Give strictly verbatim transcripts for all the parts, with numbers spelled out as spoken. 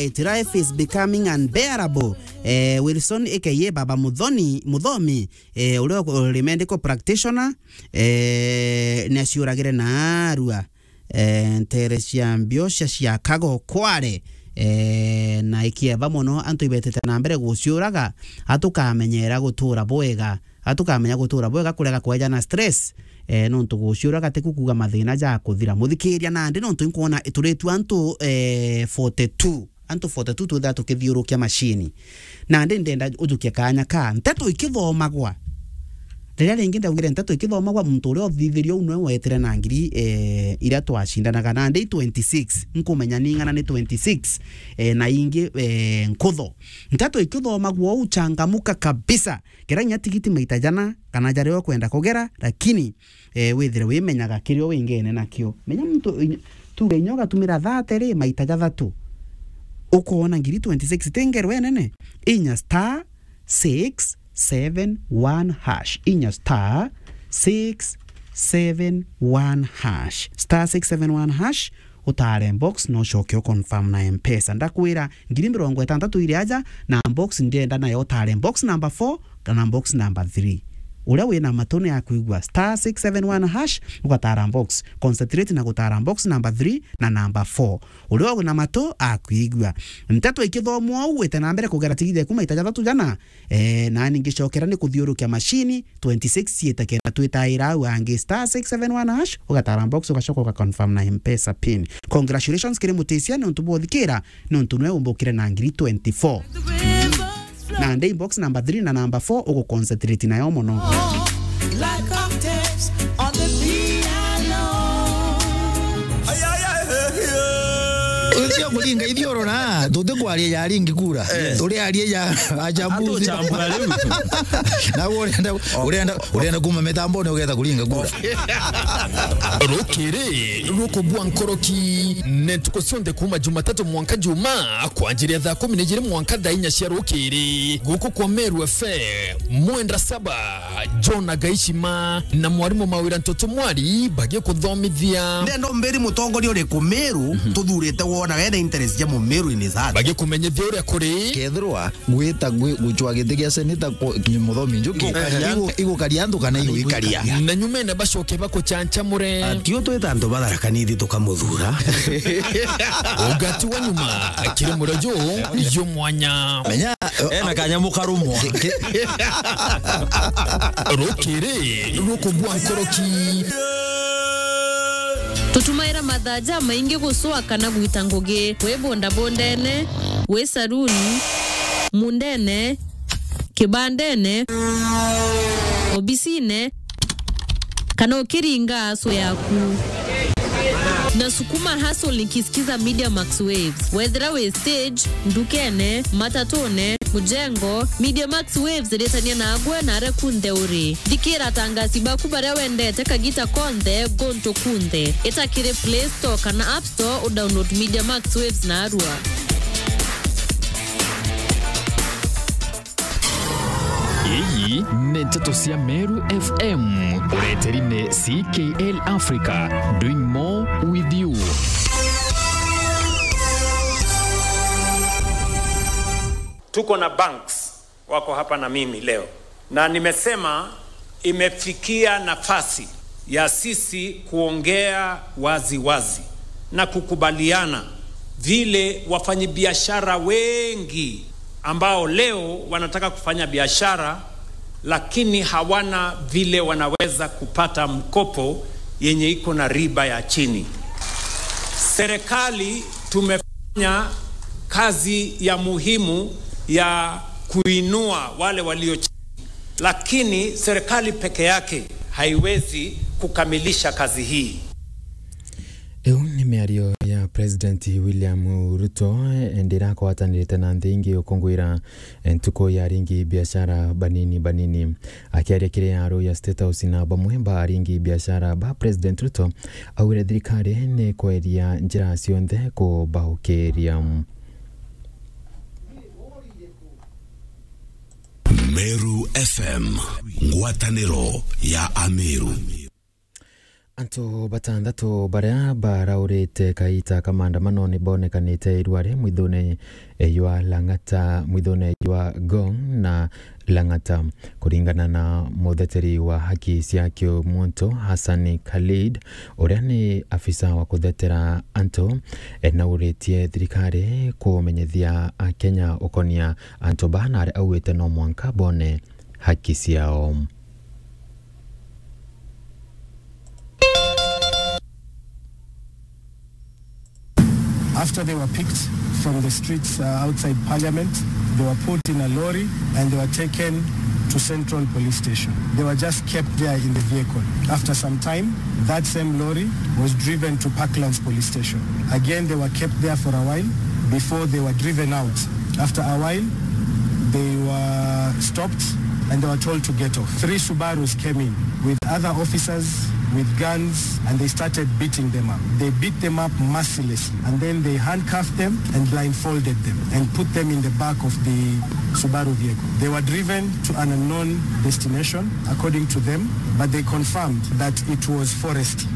It, life is becoming unbearable. Eh, Wilson, A K A Baba Muthoni, Muthomi, eh, uria uri medical practitioner, eh, ni aciuragire naarua, eh, nteere cia mbio cia Chicago Kware, eh, na ikieva mono antu ibetete na mbere guciuraga, atukamenyera gutura bwega, atukamenya gutura bwega kurega kwejana stress, eh, nontu guciura gatiku kuuga mathina ja kuthira. Muthikiria, nandi nontu inkwona ituritue antu, eh, forty-two, antu forty-two twithira tukithiurukia macini. Nandi ndenda ujukie kaanya ka nteto ikithomagwa. Riria ringi ndaugire nteto ikithomagwa, muntu uria uthithirie uu nwe wetire na ngiri, eh, iria twacindanaga nandi i twenty-six. Nkumenya ni ing'ana ni twenty-six, eh, na ingi, eh, nkutho. Nteto ikithomagwa uu, changamuka kabisa. Gera inya tigiti maita jana kana jaria ukwenda kugera, lakini, eh, withire wimenyaga kiria wingene nakio. Menya muntu, inya, tuge inya ugatumira thirty ri, maita jathatu. Ukoona ngiri twenty-six ti ngerwa inene. Inya star six seven one hash. Inya star six seven one hash. Star six seven one hash. Utare box, no ucoke u confirm na Mpesa. Ndakwira, ngiri mirongo itantatu iri aja, na box ndienda nayo utare box number four kana box number three. Uria wina matu ni akwigua, star six seven one hash, ugatara box. Concentrate na gutara box number three na number four. Uria wina matu akwigua. Nteto ikithomwa uu, wite na mbere kugera tigiti eku maita jathatu jana, eh, nani ngicokera ni kuthiurukia macini, twenty-six ciite kenda twitaira au angi, star six seven one hash, ugatara box, ugacoka uga confirm na Mpesa pin. Congratulations kiri Mutisia niuntu bwa uthikira, niuntu nwe umbukire na ngiri twenty-four. Nandi box number three na number four ugu concentrate nayo mono. Like octaves on the piano. Ucio kuringa ithioro na tutikwaria ya ringi kura. Eh. Turiaria ya achambuzi. Atuchambura riu. Na urenda, urenda, urenda kuma mitambone ugetha kuringa kura. Rukiri rukubua nkoroki, ni ntuku cionthe kuma Jumatatu mwanka Juma, kwanjiria thaa kumi na ijiri mwanka thaa inya cia rukiri, guku kwa Meru F M, mwenda saba, John Agaishima na mwarimu Mawira Ntoto Mwari bagikuthomithia. Ndenda umbiri mutongoria uriku Meru tuthurite wona wena interest ja Mumeru in his heart. Bagikumenyithia uria kuri. Kethirwa gwita gwi-, gucwa giti gia seneta ku-, ki-, Muthomi Njuki, Igukaria. Igu-, igukaria antu kana iguikaria? Na nyumene bacoke bakuchanchamure. Ati u twita antu ba Tharaka Nithi tukamuthura. Ugati wa nyuma kiri murojo yo mwanya. Menya, ena kanyamu karumwa. Ki-, ki-, rukiri rukubua nkoroki. Tutumaira mathaa jamaingi gucwa kana gwita ngugi, wi bondabondene, wi saruni, mundene, kibandene, obisine, kana ukiringa aso yaku. Na sukuma hustle nikisikiza Media Max Waves. Wethira wi stage, ndukene, matatune, mujengo, Media Max Waves iritania nagwe na aria kunthe uri. Thikira atangasi baku baria wendete kagita konthe, guntu kunthe. Ita kiri Play Store kana App Store u download Media Max Waves narua. Ii ni nteto cia Meru F M, ureteri ni C K L Africa, doing more with you. Tuko na banks wako hapa na mimi leo, na nimesema imefikia nafasi ya sisi kuongea wazi wazi na kukubaliana vile wafanyabiashara wengi ambao leo wanataka kufanya biashara lakini hawana vile wanaweza kupata mkopo yenye iko na riba ya chini. Serikali tumefanya kazi ya muhimu ya kuinua wale walio chini, lakini serikali peke yake haiwezi kukamilisha kazi hii. Iu ni miario ya President William Ruto, eh, ndi iria akwatanirite na nthi ingi ukungwira, eh, ntuku ya aringi biashara banini banini. Akiaria kiri aro ya State House na bamwe ba aringi biashara ba President Ruto, augire thirikari ni kweria njira cionthe kubaukiria. Meru F M, ngwataniro ya Ameru. Antu batanthatu baria baraurite kaita ka maandamano ni bonekanite irua ri mwithune jwa Lang'ata, mwithune jwa Ngong na Lang'ata. Kuringana na mutheteri wa haki cia kiumuntu Hassan Khalid, uria ni afisa wa kuthetera antu, nauritie thirikari kumenyithia Akenya ukonia antu baa, na aria augite no mwanka bone haki ciao. After they were picked from the streets, uh, outside Parliament, they were put in a lorry and they were taken to Central Police Station. They were just kept there in the vehicle. After some time, that same lorry was driven to Parklands Police Station. Again, they were kept there for a while before they were driven out. After a while, they were stopped and they were told to get off. Three Subarus came in with other officers, with guns, and they started beating them up. They beat them up mercilessly, and then they handcuffed them and blindfolded them and put them in the back of the Subaru vehicle. They were driven to an unknown destination, according to them, but they confirmed that it was forest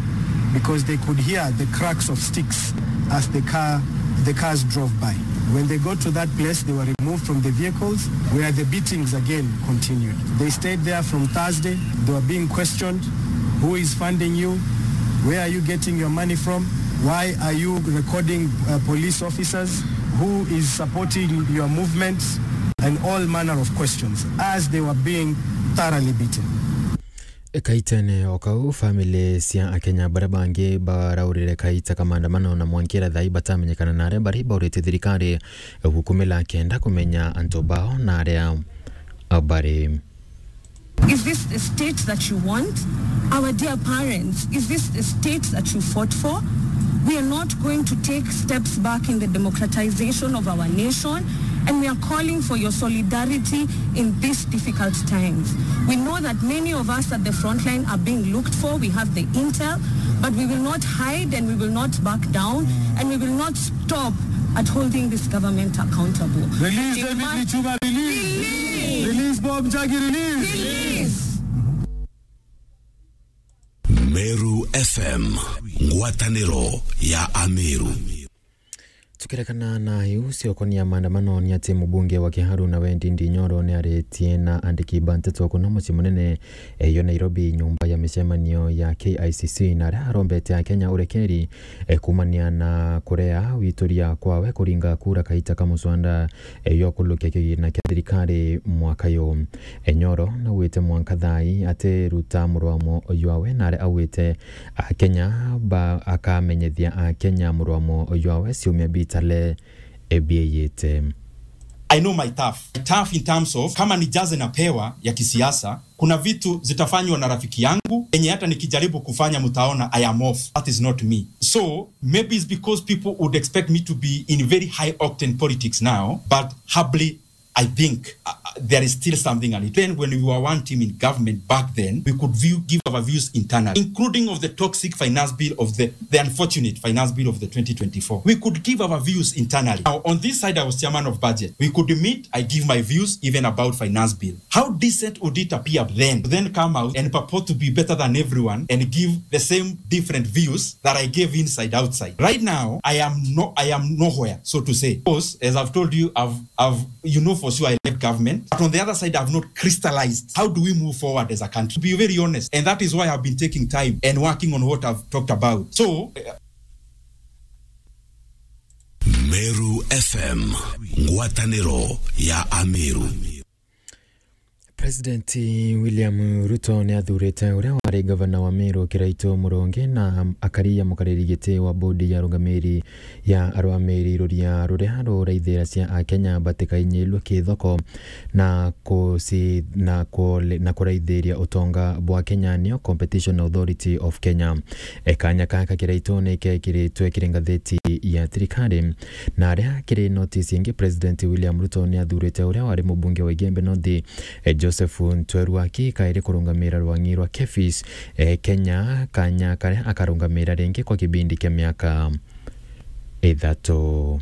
because they could hear the cracks of sticks as the car, the cars drove by. When they got to that place, they were removed from the vehicles, where the beatings again continued. They stayed there from Thursday. They were being questioned. Who is funding you? Where are you getting your money from? Why are you recording, uh, police officers? Who is supporting your movements? And all manner of questions as they were being thoroughly beaten. Kaitene o kau, family cia Akenya baria bangi baraurire kaita ka maandamano na mwankira thaa ii batamenyekana, na aria bari baurite thirikari gukumila kenda kumenya antu bao na aria bari. Is this the state that you want? Our dear parents, is this the state that you fought for? We are not going to take steps back in the democratization of our nation, and we are calling for your solidarity in these difficult times. We know that many of us at the front line are being looked for. We have the intel, but we will not hide and we will not back down, and we will not stop at holding this government accountable. Release David Lichuma, release. Release. Release Bob Njagi, release. Release. Meru F M, ngwataniro ya Ameru. Tukirekana na iu ciokonia maandamano, ni ati mubunge wa Kiharu na Wendi Ndinyoro ni aritie na andiki ba nteto kuna mucii munene, eh, yo Nairobi, nyumba ya micemanio ya K I C C, na aria arombete Akenya urekeri, eh, kumania na kurea wituria kwawe kuringa kura kaita ka muswanda, eh, yo kulukia kigina kia thirikari mwaka yu. Enyoro naugite mwanka thaa ii atiruta murwamo jwawe, na aria augite Akenya ba akamenyithia Akenya murwamo jwawe ciumia bitale ebieyite. I know my turf. My turf in terms of, kama ni jaze napewa ya kisiasa, kuna vitu zitafanywa na rafiki yangu, enye hata nikijaribu kufanya mtaona I am off. That is not me. So, maybe it's because people would expect me to be in very high octane politics now, but humbly, I think, uh, uh, there is still something a little. Then when we were one team in government back then, we could view, give our views internally, including of the toxic finance bill of the, the unfortunate finance bill of the twenty twenty-four. We could give our views internally. Now, on this side, I was chairman of budget. We could meet, I give my views even about finance bill. How decent would it appear then to then come out and purport to be better than everyone and give the same different views that I gave inside outside? Right now, I am no, I am nowhere, so to say. Because, as I've told you, I've, I've, you know for sure I left government. But on the other side, I've not crystallized how do we move forward as a country. To be very honest, and that is why I've been taking time and working on what I've talked about. So, uh, Meru F M, ngwataniro ya Ameru. President William Ruto ni athurite uria wari gavana wa Meru Kiraitu Murungi na akari ya mukariri giti wa bodi ya arungamiri ya arwamiri ruria ruria ruraithira cia Akenya batikainyirwe kithoko na kuci-, na kule-, na kuraithiria utonga bwa Kenya, niyo Competition Authority of Kenya. E, kanya kaka Kiraitu ni kekiritwe kiri ngatheti ya thirikari, na aria kiri notisi ingi, President William Ruto ni athurite uria wari mubunge wa Igembe North, e, Joseph Ntweru Aki kairi kurungamira rwang'i rwa KEPHIS, e, Kenya, kanya karia akarungamira ringi kwa kibindi kia miaka ithatu.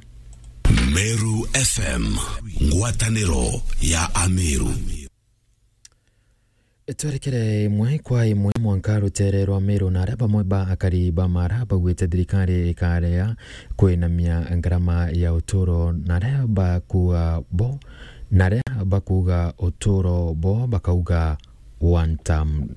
Meru F M, ngwataniro ya Ameru. Twerekere imwe kwa imwe mwanka rutere rwa Meru, na aria bamwe ba akari ba Mara baugite thirikari ikaria kwinamia ngarama ya uturo, na aria bakuga bo, na aria bakuga uturo bo bakauga one term.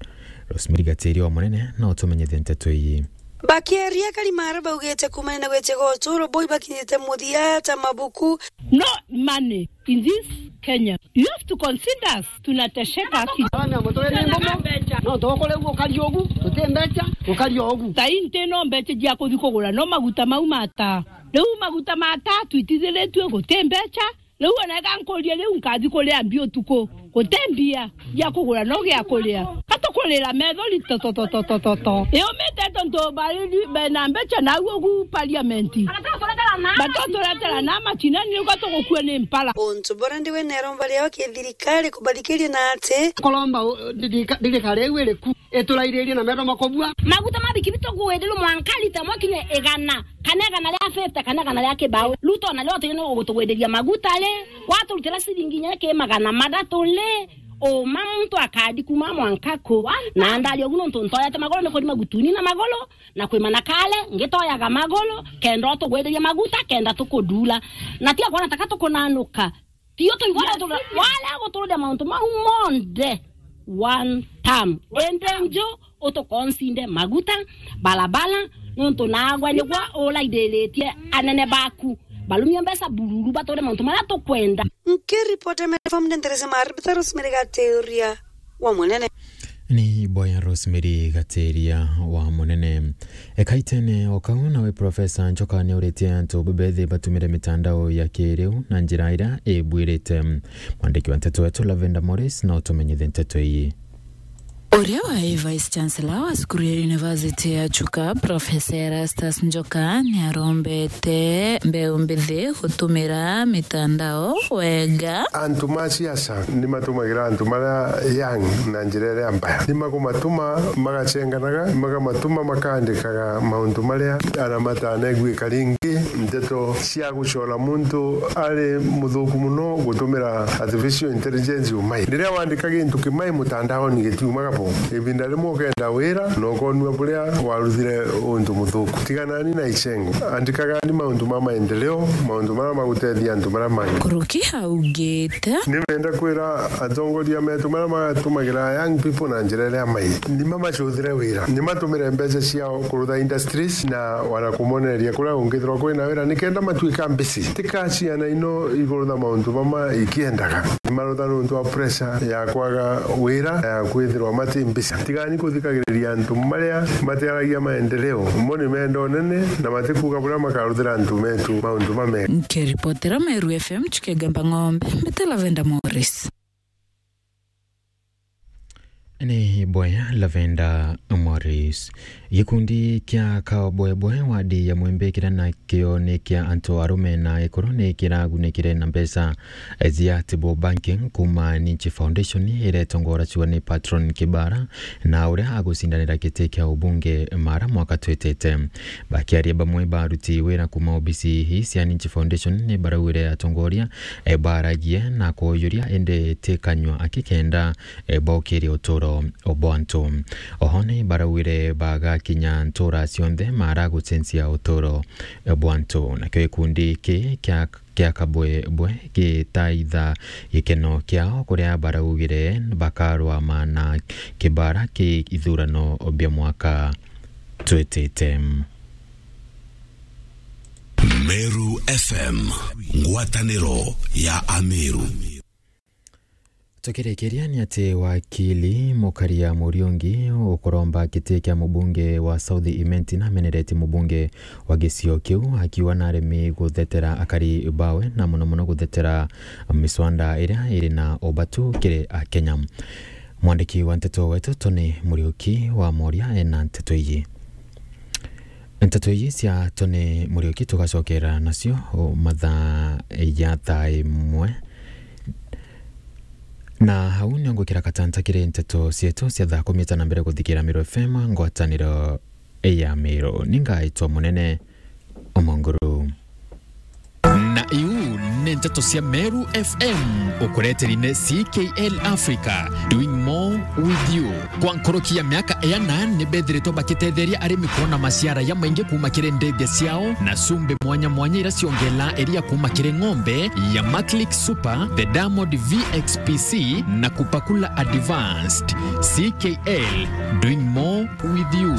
Rosemary Gatiria wa Munene na utumenyithie nteto ii. Bakiaria, akari Mara baugite kumania na gwitiga uturo bo ibakinyite muthia ta mabuku. No money in this Kenya. You have to consider us, tunatesheka haki. Abana mutwe ni mbomo. No tokore ugu ukari ugu, tuti mbecha, ukari ugu. Sai nti no mbecha cia kuthi kugura, no maguta mau ma taa. Riu maguta ma taa twitithiritue guti mbecha. Riu ona ega nkurie riu nkathi kuria mbi utuku. Guti mbia cia kugura no gia kuria. Katukurira methori to, to, to. Iumite tontu baridi bena mbecha na au ugu parliament. Batoturetera na machinani uga tugukua ni mpara. Untu bura ndiwe neromba riao ki thirikari kubathikiria na ati. Kuromba, uh, thirika-, thirikari iu iriku iturairirie na metho makobua. Maguta ma bikibiki tukuenderwa mwanka lita imwe kinya igana, kana igana ria fifty, kana igana ria kibao. Ruto na rio tene ugutugwenderia maguta ri, waturutira ciringi inya ki magana mathatu ri, uma muntu akadi kuma mwanka ku. Na ndari ugu nontu ntoyete magoro ni kurima gutuni na magoro, na kwima na kale, ngitoyaga magoro, kenda utugwenderia maguta, kenda tukudula. Na tiga kwona taka tukunanuka. Tio tuigwa wale gutururia mauntu mau monthe one term. Ende nju utukonsinde maguta, barabara, nontu nagwe nigwa uraithiritie anene baku. Barumie mbeca bururu bature mauntu maria tukwenda. Nkiripota Metro F M ndendereze maribita Rosemary Gatiria wa Munene. Ni boya Rosemary Gatiria wa Munene. Ekaitene o kau nawe Profesa Njoka niuritie antu bethi batumire mitandao ya kiriu na njira iria ibwirite. Mwandiki wa nteto wetu Lavender Morris na utumenyithie nteto iyi. Uria wai Vice Chancellor wa cukuru ya University ya Chuka, Profesa Erastus Njoka, niarombete mbeu mbithi gutumira mitandao wega. Antu ma siasa ni matumagira antu maria young na njira iria mbaya. Ni makumatuma magacenganaga, ni makamatuma makaandikaga mauntu maria ana matanaigwika ringi. Nteto cia gucora muntu ari muthuku muno gutumira artificial intelligence umai. Riria wandika gintu kimai mutandaoni gitiumaga bo. Ibinda rimwe ukenda wira na ukonua buria waruthire untu muthuku. Tiganani na icengo. Andikagani mauntu ma maendeleo, mauntu maria magutethia antu maria mangi. Kuruki augite. Ni menda kwira atongoria metu maria matumagira young people na njira iria mai. Ni mamacuthire wira. Ni matumire mbeca ciao kurutha industries na wana kumonereria kuria ungithirwa kwina wira nikenda matuika mbisi. Tika ciana ino igurutha mauntu mama ikiendaga. Ni marutha nontu wa pressure ya kwaga wira, ya kwithirwa mati mbisi. Tigani kuthikagiriria antu maria matiaragia maendeleo. Mo ni menda unene na matikuga buria makaruthira antu metu mauntu mamega. Nkiripotera Meru F M, Chukegamba Ng'ombe, mbita Lavender Morris. Ni boya Lavender Morris. Gikundi kia Kabwebwe wadi ya Mwembe kiria nakio ni kia antu arume na ekuru ni kiragunikire na mbeca cia Table Banking kuma Ninchi Foundation iria itongoraciwa ni Patron Kibara na uria agucindanira giti kia ubunge Mara mwaka twitite. Bakiaria bamwe ba aruti wira kuma obisi ii cia Ninchi Foundation ni baraugire atongoria e, baragie na kuuyuria indi ti kanyua aki kenda, e, bokirie uturo bwa antu. Oho ni baraugire bagakinya ntura cionthe mara gucenjia uturo bwa antu. Nakio gikundi ki kia, kia Kabwebwe gitaitha gikeno kiao kuria baraugire bakarwama na Kibara ki ithurano bia mwaka twitite. Meru F M, ngwataniro ya Ameru. Tukirikiria ni ati wakili Mukaria Muriungi ukuromba giti kia mubunge wa South Imenti nameneretie mubunge wa gicio kiu akiuga naremi guthetera akari bawe na muno muno guthetera miswanda iria iri na ubatu kiri Akenya. Mwandiki wa nteto wetu Tony Muriuki wa Moria ena nteto iji. Nteto iji cia Tony Muriuki tugacokera nacio o mathaa ya thaa imwe. Na hau nio ngwikira katanta kiri nteto cietu cia thaa kumi na ita na mbere kuthikira Meru F M, ngwataniro ya Meru. Ni ngaitwa Munene Omonguru. Na iu ni Nteto cia Meru F M, ukureteri ni C K L Africa, doing more with you. Kwa nkuruki ya miaka iana, ni bethiritwe bakitetheria arimi kwona maciara ya maingi kuuma kiri ndithia ciao, na cumbi mwanya mwanya iria ciongela iria kuuma kiri ng'ombe ya Maclick Super, the Diamond V X P C, na Kupakula Advanced. C K L, doing more with you.